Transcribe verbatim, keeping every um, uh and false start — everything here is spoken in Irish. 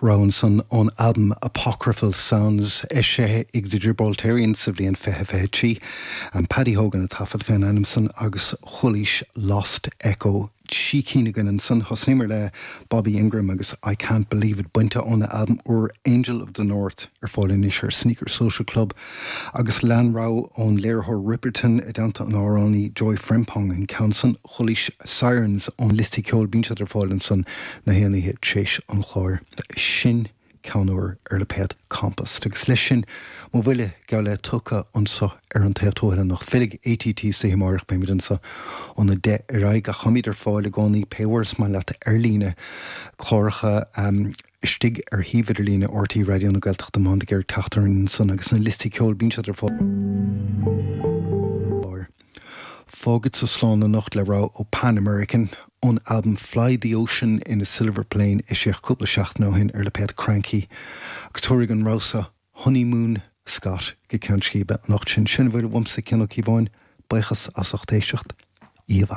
Rogha ansan ón albam Apocryphal Sounds eisithe ag The Gibraltarians sa bhliain fiche fiche trí. An Paddy Hogan a taifead fén ainm san agus chualaís Lost Echo trí cinn againn ansan thosnaíomar le Bobby Ingram agus I Can't Believe It bainte óna albam úr Angel of the North ar fáil anois ar Sneaker Social Club agus lean rogha ón léiritheoir Ripperton i dteannta an amhránaí Joy Frempong an ceann san chualaís Sirens ón liosta ceoil bíonn siad ar fáil ansan na haon oíche tréis an chláir. Sin ceann úr ar lipéad Compost. Agus leis sin mo bhuille geall le tugtha anseo ar an taobh tuaithe anocht. Fillfidh ATT isteach amárach beimid anseo óna deich ar aghaidh ach táimid ar fáil i gcónaí pé uair is maith leat ar líne cláracha um, istigh ar shuíomh idirlíne RTÉ Raidió na Gaeltachta má ag teacht san agus na liostaí ceoil bíonn siad ar fáil. Fágfadsa slán anocht le rogha ó Pan American ón album Fly the Ocean in a Silver Plane eisíodh cúpla seachtain ó shin ar lipéad Kranky agus tabharfaidh an rogha seo Honeymoon Scott go ceann scríbe anocht sin sin bhfuil uaimse Cian Ó Cíobháin buíochas as ucht éisteacht íomh.